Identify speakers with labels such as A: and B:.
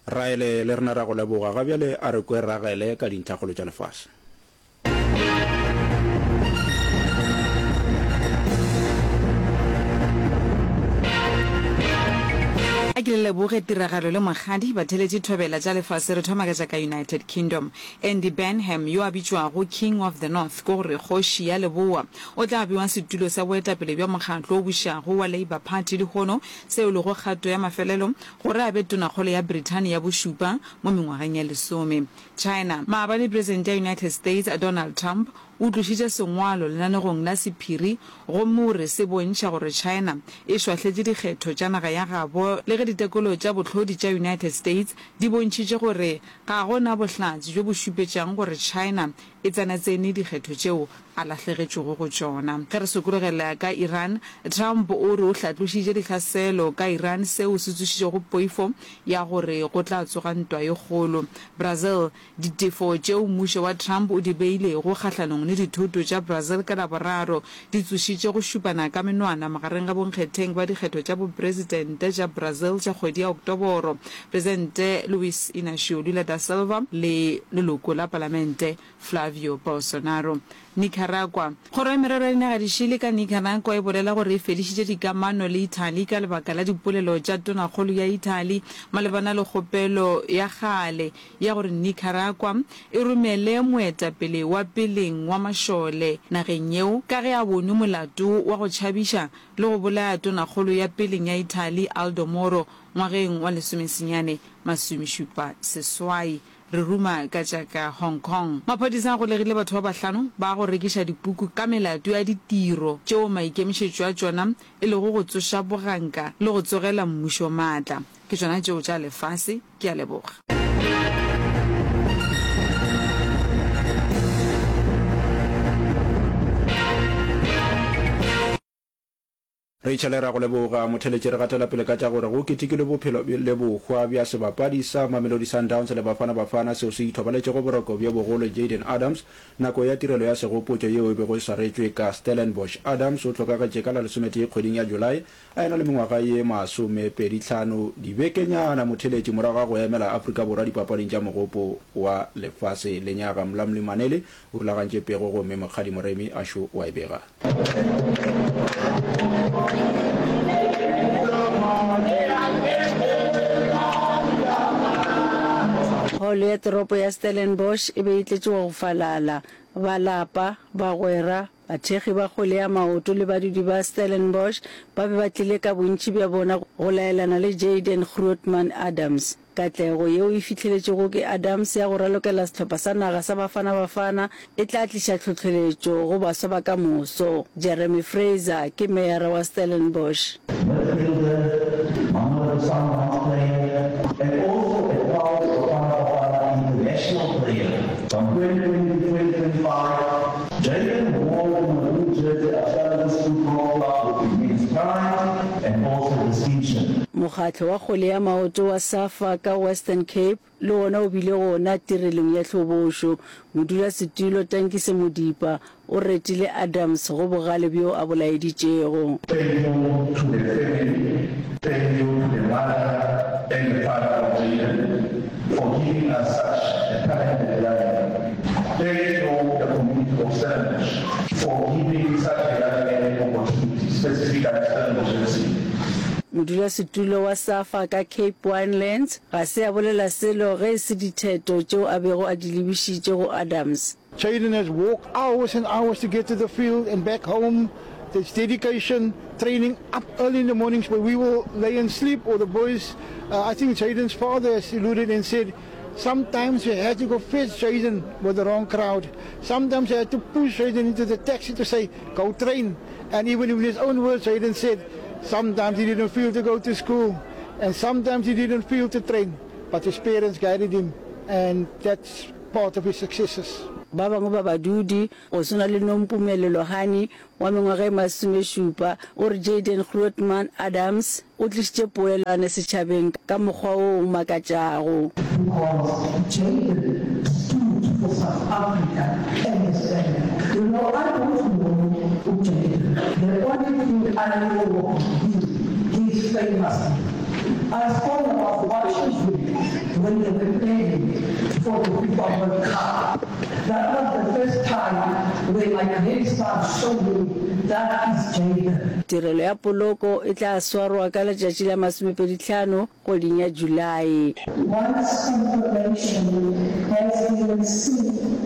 A: Raele, le rena ra go leboga. Ga bjale a re kwe Ragele ka dintlhakgolo tša lefase.
B: A ke le leboge tiragalo le Mokgadi batheletši thobela tša lefase re thoma ka tša ka United Kingdom. Andy Burnham yo a bitšwago King of the North ke gore kgoši ya leboa o tla bewa setulo sa boetapele bja mokgatlo o bušago wa Labour Party lehono seo e lego kgato ya mafelelo gore a be tonakgolo ya Brithani ya bošupa mo mengwageng ye lesome. China. Maabane Presidente ya United States Donald Trump o tlošitše sengwalo lenanegong la sephiri gomme o re se bontšha gore China e šwahletše dikgetho tša naga ya gabo le ge ditekolo tša bohlodi tša United States di bontšhitše gore ga go na bohlatse bjo bo šupetšang gore China e tsenatsene dikgetho tšeo a lahlegetšwego go tšona. Ge re sokologela ka Iran, Trump o re o hlatlošitše dihlaselo ka Iran seo se tsošitšego poifo ya gore go tla tsoga ntwa e kgolo. Brazil, Ditefo tšeo mmušo wa Trump o di beilego kgahlanong le dithoto tša Brazil ka Laboraro di tsošitše go šupana ka menwana magareng ga bonkgetheng ba dikgetho tša bopresidente tša Brazil tša kgwedi ya Oktoboro, Presidente Luiz Inacio Lula da Silva le leloko la palamente Flavio Bolsonaro. Nicaragua. Kgoro ya Merero ya Dinagadišele ka Nicaragua e bolela gore e fedišitše dikamano le Italy ka lebaka la dipolelo tša Tonakgolo ya Italy malebana le kgopelo ya kgale ya gore Nicaragua e romele moetapele wa peleng wa mašole nageng yeo ka ge a bonwe molato wa go tšhabiša le go bolaya Tonakgolo ya peleng ya Italy Aldo Moro ngwageng wa lesomesenyane masomešupa seswai. Re ruma ka tša ka Hong Kong. Maphodisa a golegile batho ba bahlano ba go rekiša dipuku ka melato ya ditiro tšeo maikemišetšo a tšona e lego go tsoša boganka le go tsogela mmušo maatla. Ke tšona tšeo tša lefase. Ke a leboga.
A: Rachel ra go leboga. Motheletši re gatela pele ka tša gore go ketekilwe bophelo le bohwa bja sebapadi sa Mamelodi Sundowns le Bafana Bafana seo se ithobaletšego boroko bjo bogolo Jayden Adams nako ya tirelo ya segopotšo yeo e bego e swaretšwe ka Stellenbosch. Adams o hlokagetše ka la lesometee kgweding ya July a ena le mengwaga ye masomepedihlano dibekenyana motheletši morago ga go emela Afrika Borwa dipapading tša Mogopo wa Lefase lenyaga. Mlamli Maneli o rulagantše pego gomme Mokgadi Moremi a šo wa e bega.
C: Holo ya toropo ya Stellenbosch e be e tletše wa go falala. Ba lapa, bagwera, bathekgi ba kgwele ya maoto le badudi ba Stellenbosch ba be ba tlile ka bontši bja bona go laelana le Jayden Grootman Adams. Katlego yeo e fihleletšwego ke Adams ya go ralokela sehlopha sa naga sa Bafana Bafana e tla tliša tlhohleletšo go baswa ba ka moso. Jeremy Fraser ke meyara wa Stellenbosch.
D: Midfielder, Mamelodi Sundowns player and also a proud Bafana Bafana international player from 2020 to 2025, Jayden wore the maroon jersey at Stellenbosch Football Club with immense pride and also distinction.
C: Mokgatlo wa kgwele ya maoto wa Safa ka Western Cape le wona o bile gona tirelong ya hlobošo. Modulasetulo Tankise Modipa o retile Adams go bogale bjo a bo laeditšego.
D: Thank you to the family, thank you to the mother and the father of Jayden for giving us such a talented young man. Thank you the community of Stellenbosch for giving such a young man an opportunity, specifically Stellenbosch FC.
C: Modulasetulo wa Safa ka Cape Winelands ga se a bolela selo ge e se ditheto tšeo a bego a di lebišitše go Adams.
E: Jayden has walked hours and hours to get to the field and back home. There's dedication, training up early in the mornings where we will lay and sleep, or the boys. Uh, I think Jayden's father has alluded and said, sometimes we had to go fetch Jayden with the wrong crowd. Sometimes we had to push Jayden into the taxi to say, go train. And even in his own words, Jayden said, sometimes he didn't feel to go to school, and sometimes he didn't feel to train, but his parents guided him, and that's part of his successes.
C: Ba bangwe ba badudi, go swana le Nompumelelo Hani wa mengwaga e masomešupa, o re Jayden Grootman Adams o tlišitše poelano setšhabeng ka mokgwa wo o makatšago.
F: Because Jayden stood for South Africa and his family. You know, I don't know uJayden. The only thing I know of him, he's famous. I saw about watching him. when they were playing for the FIFA World Cup. That was the first time where my grandson showed me that is Jayden.
C: Tirelo ya poloko e tla swarwa ka letšatši la masomepedihlano kgweding ya Julae.
F: Once confirmation has been received.